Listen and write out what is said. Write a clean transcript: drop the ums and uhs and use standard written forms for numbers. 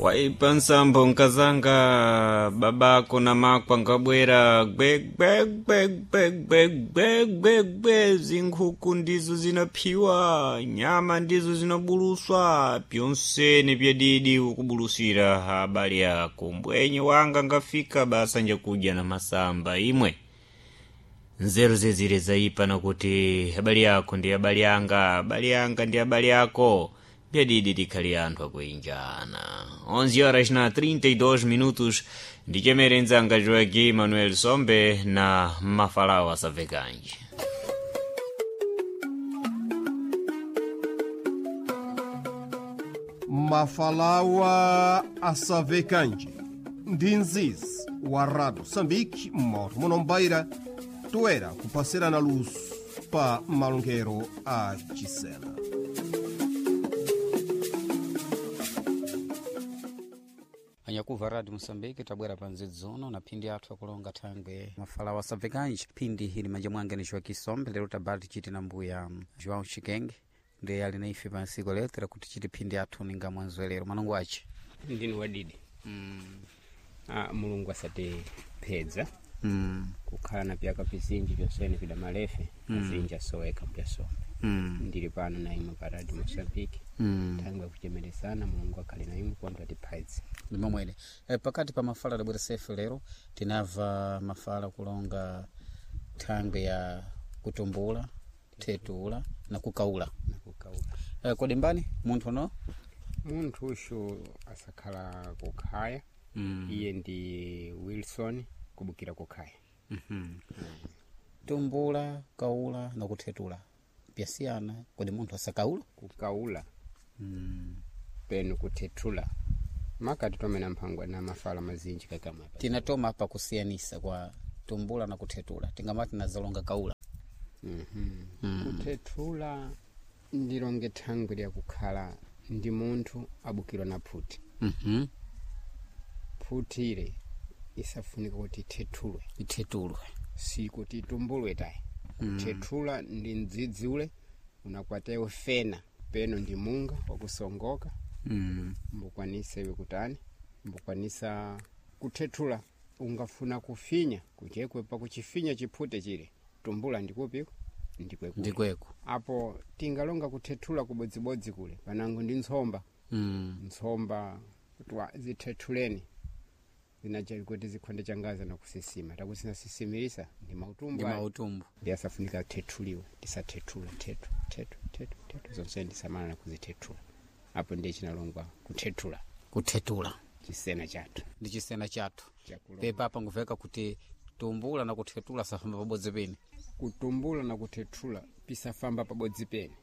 Waipa nsambo nkazanga babako na mako angabwera gwegwegwegwegwegwegwe zinkhuku ndizo zinaphiwa, nyama ndizo zinabuluswa, pyonsene pyadidi ukubulusira abale ako. Mbwenye wanga ngafika basa njakudya na masamba imwe nzeru zezire zaipa nakuti abale ako ndi abale anga, abale anga ndi abale ako, pyadidi tikhali anthu akuinjana. 11 horas na 32 minutos, ndichemere nzanga Joaquim Manuel Sombe na Mafalawo asavekanji. Mafalawa asavekanje ndi nzizi wa Rado Sambiki mmoto munombaira toera kupasirana luso pa malongero a Chisena. Anyakuva Radio Moçambique tabwera pa nzidzuno na phindi athu akulonga thangwe mafalawo asabvekanji. Phindi ili manja mwange ni Joaquim Sombe, lero tabati chiti na mbuya João Chikenge ndiye ali na ife pa nsiku lero tera kuti chiti phindi athu ninga mwanzwelero manungu ace ndini wadidi. Mulungu asatiphedza kukhala na pyaka pizinji pyonsene pida malefe azinji asoweka mpyasombe. Ndili pano na imwe pa Radio Mosambiki thangwe yakuchemeresana. Mulungu akhale na imwe kwantu atiphadze. Ndimomwene pakati pa mafala adabwera sefe lero tinamva mafala kulonga thangwe ya kutumbula, thetula na kukaula. Nakukaula. Kodi mbani munthu no Munthu ushu asakhala kukhaya. Iye ndi Wilson kubukira kukhaya. Tumbula, kaula na kuthetula pyasiyana. Kodi munthu asakaula? Kukaula penu kuthethula makati tomena mphangwa na mafala mazinji kakamapa. Tinatoma pa kusiyanisa kwa tumbula na kuthetula, tingamati nazalonga kaula. Kuthethula ndilonge thangwi lyakukhala ndi munthu abukirwa na phuti. Phuti ile isafunika kuti ithethulwe. Ithetulwe. Sikuti itumbulwe tayi. Kuthethula ndi mdzidzi ule unakwatayo fena peno ndi munga wakusongoka. Mbukwanisa iwe kutani, mbukwanisa kuthethula. Ungafuna kufinya kuchekwe pakuchifinya chiphute chile, tumbula ndikupiko ndikwekule. Ndikweko. Apo tingalonga kuthethula kubodzibodzi kule panango ndi ntsomba. Ntsomba kutwa zithethuleni zinacha kuti zikhonde changaza nakusisima takusinasisimirisa ndi mautumbu ndi ayo. Mautumbu. Ndi asafunika thethuliwe, tisathethula thethu thethu thethu thethu zonse ndisamala nakuzithethula. Apo ndiye chinalongwa kuthethula. Kuthetula. Chisena chathu. Ndi chisena chathu. Chakulonga. Pepa apa nguveka kuti tumbula na kuthetula safamba pabodzi pene. Kutumbula na kuthethula pisafamba pabodzi pene.